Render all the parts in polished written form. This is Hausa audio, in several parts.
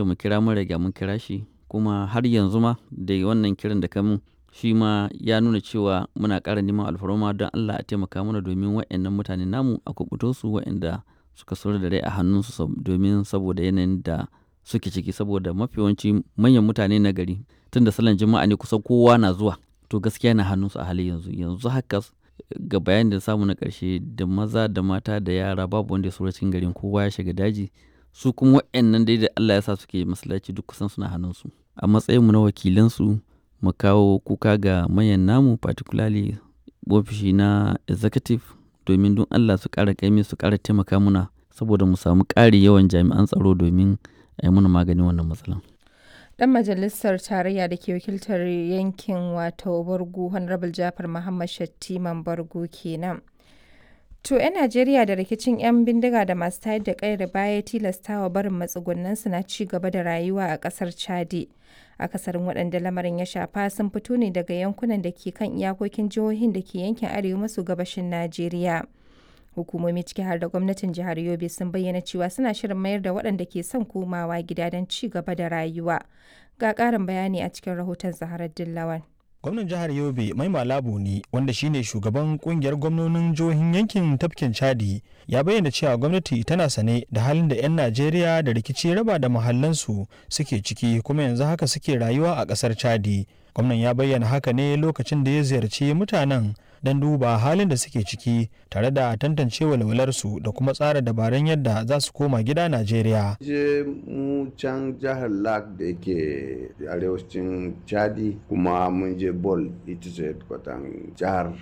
Mu kira, mun riga mun kira shi, kuma har yanzu ma da wannan kiran da ka mun shi ma ya nuna cewa muna ƙara neman alfarma don Allah a taimaka mana domin waɗannan mutane namu a kuɓuto su, waɗanda suka saura da rai a hannunsu, domin saboda yanayin da suke ciki, saboda mafi yawanci manyan mutane na gari, tun da sallan Juma'a ne kusan kowa na zuwa, to gaskiya na hannunsu a halin yanzu. Yanzu haka, ga bayanin da samu na ƙarshe, da maza da mata da yara babu wanda ya saura cikin garin, kowa ya shiga daji. Su kuma waɗannan dai da Allah ya sa suke masallaci, duk kusan suna hannunsu. A matsayinmu na wakilansu, mu kawo kuka ga manyan namu, particularly ofishi na executive, domin don Allah su ƙara ƙaimi, su ƙara taimaka muna saboda mu samu ƙari yawan jami'an tsaro domin a yi muna maganin wannan matsalan. Dan majalisar tarayya da ke wakiltar yankin wato Bargu, Honorable Jafar Muhammad Shattiman Bargu kenan. To, 'yan Najeriya da rikicin 'yan bindiga da masu tayar da kayar baya tilastawa barin matsugunansu na ci gaba da rayuwa a kasar Chadi. Akasarin waɗanda lamarin ya shafa sun fito ne daga yankunan da ke kan iyakokin jihohin da ke yankin arewa maso gabashin Najeriya. Hukumomi, ciki har da gwamnatin jihar Yobe, sun bayyana cewa suna shirin mayar da waɗanda ke son komawa gida don ci gaba da rayuwa. Ga ƙarin bayani a cikin rahoton Zaharar Dillawan. Gwamnan jihar Yobe Mai Malabu ne, wanda shine shugaban kungiyar gwamnonin jihohin yankin tafkin Chadi, ya bayyana cewa gwamnati tana sane da halin da 'yan Najeriya da rikici raba da mahallansu suke ciki, kuma yanzu haka suke rayuwa a kasar Chadi. Gwamnan ya bayyana haka ne lokacin da ya ziyarci mutanen don duba halin da suke ciki tare da tantance walwalarsu da kuma tsara dabarun yadda za su koma gida Najeriya. Je mu can jihar Lak da yake arewacin Chadi, kuma mun je Bol, ita ce kwatan jihar.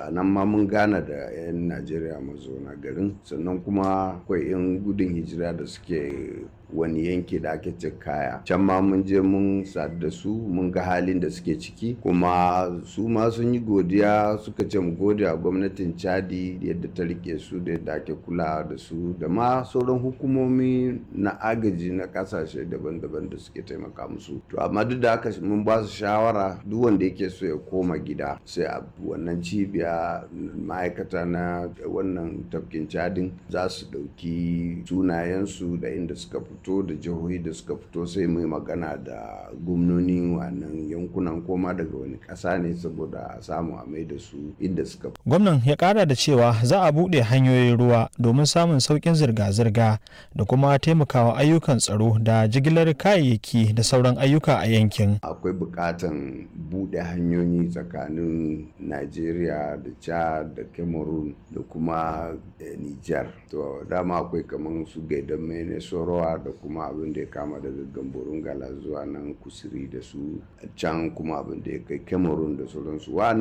A nan ma mun gana da 'yan Najeriya mazauna garin, sannan kuma akwai 'yan gudun hijira da suke wani yanki da ake ce Kaya. Can ma mun je mun sadu da su, mun ga halin da suke ciki, kuma su ma sun yi godiya, suka ce mu gode a gwamnatin Chadi yadda ta rike su da yadda ake kula da su, da ma sauran hukumomi na agaji na kasashe daban-daban da suke taimaka musu. To amma duk da haka mun ba su shawara, duk wanda yake so ya koma gida, sai a wannan cibiya ma'aikata na wannan tafkin Chadin za su ɗauki sunayensu da inda suka fito da jihohi da suka fito, sai mu yi magana da gwamnonin wannan yankunan, koma daga wani ƙasa ne, saboda a samu a mai da su inda suka fito. Gwamnan ya kara da cewa za a buɗe hanyoyin ruwa domin samun sauƙin zirga-zirga da kuma taimakawa ayyukan tsaro da jigilar kayayyaki da sauran ayyuka a yankin. Akwai buƙatan buɗe hanyoyi tsakanin Najeriya da Chad da Cameroon da kuma Niger. To dama akwai kamar su Gaidan Mene, Sorowa, da kuma abin da ya kama daga Gamborun Gala zuwa nan Kusuri da su can, kuma abin da ya kai Cameroon da sauransu. Wa'annan